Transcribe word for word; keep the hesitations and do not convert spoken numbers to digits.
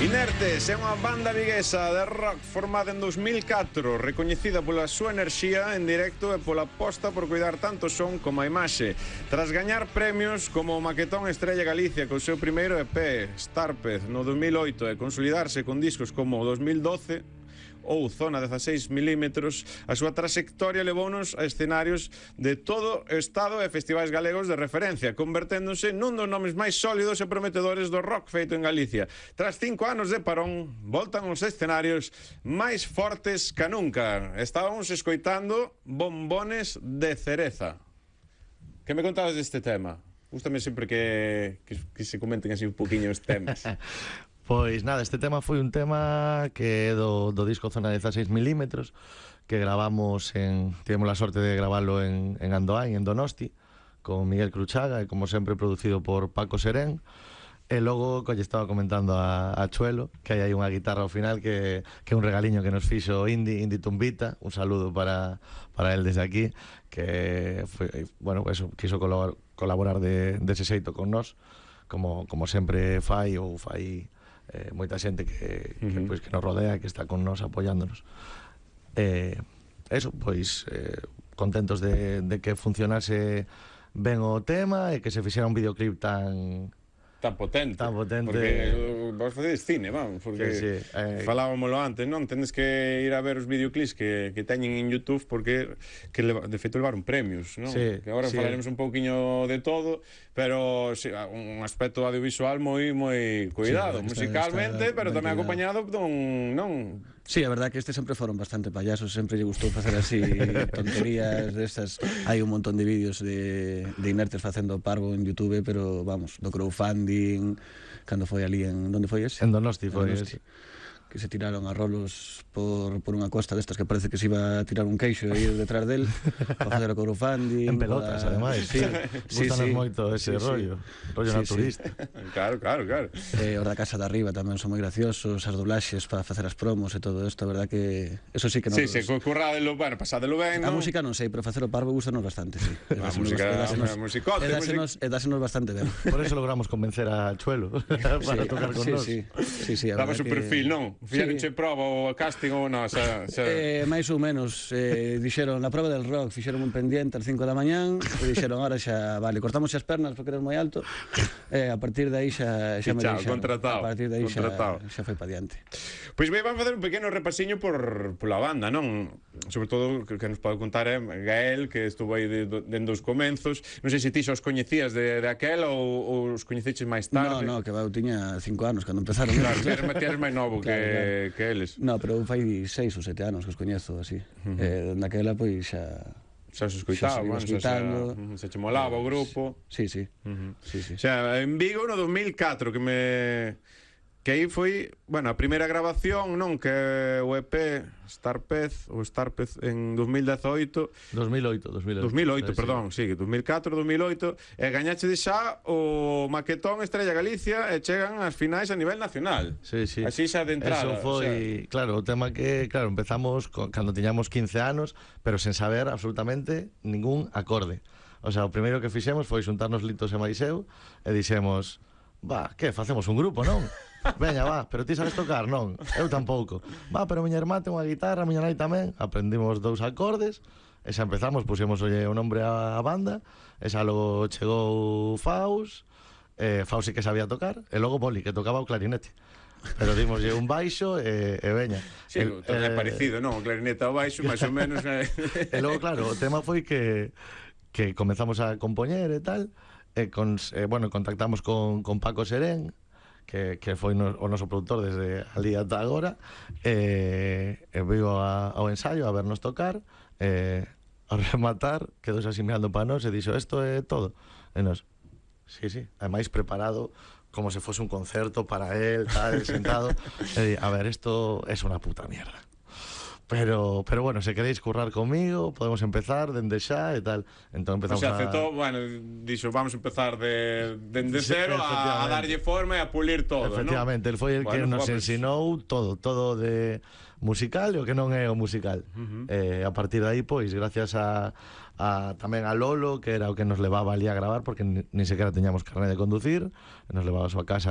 Inertes é unha banda viguesa de rock formada en dos mil catro, recoñecida pola súa enerxía en directo e pola aposta por cuidar tanto o son como a imaxe. Tras gañar premios como o Maquetón Estrella Galicia co seu primeiro E P, Starpez, no dos mil oito, e consolidarse con discos como o dos mil doce ou Zona dezaseis milímetros, a súa trayectoria levounos a escenarios de todo o estado e festivais galegos de referencia, converténdose nun dos nomes máis sólidos e prometedores do rock feito en Galicia. Tras cinco anos de parón, voltan os escenarios máis fortes que nunca. Estábamos escoitando Bombones de Cereza. Que me contabas deste tema? Gústame sempre que, que, que se comenten así un poquinho os temas. Pois nada, este tema foi un tema que é do, do disco Zona dezaseis milímetros, que gravamos en, tivemos a sorte de gravarlo en, en Andoain, en Donosti, con Miguel Cruchaga, e como sempre producido por Paco Serén. E logo, que lle estaba comentando a, a Chuelo, que hai aí unha guitarra ao final que, que é un regaliño que nos fixo Indy, Indy Tumbita. Un saludo para, para él desde aquí, que foi, bueno, eso, quiso colaborar, colaborar de, dese xeito con nós, como, como sempre fai ou fai Eh, moita xente que, que, uh-huh. pois, que nos rodea, que está con nos apoyándonos. Eh, eso, pois eh, contentos de, de que funcionase ben o tema e que se fixera un videoclip tan tan potente, tan potente. Porque vos facedes cine, vamos, porque sí, sí. Eh, falábamoslo antes, non? Tendes que ir a ver os videoclips que, que teñen en YouTube, porque que leva, de feito levaron premios, non? Sí, que agora sí. falaremos un pouquiño de todo, pero sí, un aspecto audiovisual moi moi cuidado, sí, musicalmente, está, pero tamén acompañado dun, non? Sí, a verdad que este sempre foron bastante payasos, sempre lle gustou facer así tonterías destas. Hai un montón de vídeos de, de Inertes facendo parvo en YouTube, pero vamos, do crowdfunding, cando foi ali en... Onde foi ese? En Donosti foi ese. Que se tiraron a rolos por, por unha costa destas que parece que se iba a tirar un queixo e ir detrás del para facer o crowdfunding en pelotas, para... ademais sí, sí, gustanos sí, moito ese sí, rollo sí. rollo sí, naturista sí. claro, claro, claro eh, os da Casa de Arriba tamén son moi graciosos, as doblaxes para facer as promos e todo isto, a verdad que eso sí que non... Sí, se sí, curradelo, bueno, pasádelo ben, a ¿no? música non sei, pero facer o parvo gustanos bastante, sí. A música, a musicote, e dásenos bastante ben. Por eso logramos convencer a Chuelo para sí, tocar con sí, nós. Sí, sí, sí, daba su perfil, non? Fixeronche proba o casting ou non, xa, xa... Eh, máis ou menos, eh, dixeron na prova del rock, fixeron un pendiente ás cinco da mañán e dixeron, ahora xa, vale, cortamos as pernas porque eres moi alto, e eh, a partir de aí xa, xa me deixaron, contratado, a partir de aí xa, contratado. xa foi pa diante. Pois ben, vamos facer un pequeno repasiño por pola banda, non? Sobre todo, que, que nos pode contar é Gael, que estuvo aí dende de, de os comenzos. Non sei se ti xa os coñecías de, de aquela ou, ou os coñeceches máis tarde. No, no, que va, eu tiña cinco anos cando empezaron. Claro, eres, eres máis novo claro, que, claro. que eles. No, pero eu fai seis ou sete anos que os coñezo, así. Uh -huh. Eh, daquela, pois, xa... xa se escoitaba, xa se, xa, xa, se che molaba o grupo. Sí, sí. Uh -huh. sí, sí. Xa, en Vigo no dos mil catro, que me... que aí foi, bueno, a primeira grabación, non? Que o E P Starpez, ou Starpez en dos mil dezoito dos mil oito, dos mil oito, dos mil oito, sí, perdón, sí, dos mil catro, dos mil oito, e gañache de xa o Maquetón Estrella Galicia e chegan as finais a nivel nacional. Sí, sí. Así xa de entrada. Eso foi, o sea... claro, o tema que, claro, empezamos con, cando tiñamos quince anos, pero sen saber absolutamente ningún acorde. O sea, o primeiro que fixemos foi xuntarnos Litos e máis eu e dixemos, va, que, facemos un grupo, non? Veña, va, pero ti sabes tocar, non? Eu tampouco. Va, pero miña irmá ten unha guitarra, miña nai tamén. Aprendimos dous acordes e xa empezamos, puxemos olle o nombre á banda e xa logo chegou Faus, eh, Faus sí que sabía tocar, e logo Boli, que tocaba o clarinete. Pero dimoslle un baixo e, e veña. Sí, el, é eh, parecido, non? O clarinete ao baixo, máis ou menos. E logo, claro, o tema foi que que comezamos a compoñer e tal, e con, eh, bueno, contactamos con, con Paco Serén, que, que foi no, o noso produtor desde ali ata agora, e, e viu a, ao ensaio a vernos tocar, e ao rematar quedou así mirando para nós e dixo, isto é todo. E nos, sí, sí, ademais preparado como se fose un concerto para él, tal, sentado, e di, a ver, isto é una puta mierda. Pero, pero bueno, se queréis currar comigo, podemos empezar dende xa e tal. Entón empezamos o sea, a... aceptou, bueno, dixo, vamos a empezar de, de, de cero sí, a, a darlle forma e a pulir todo, efectivamente, ¿no? Él foi el bueno, que nos pues... ensinou todo, todo de musical e o que non é o musical. Uh -huh. eh, a partir de aí, pois, gracias a, a tamén a Lolo, que era o que nos levaba ali a gravar, porque ni, ni sequera teñamos carné de conducir, nos levaba a súa casa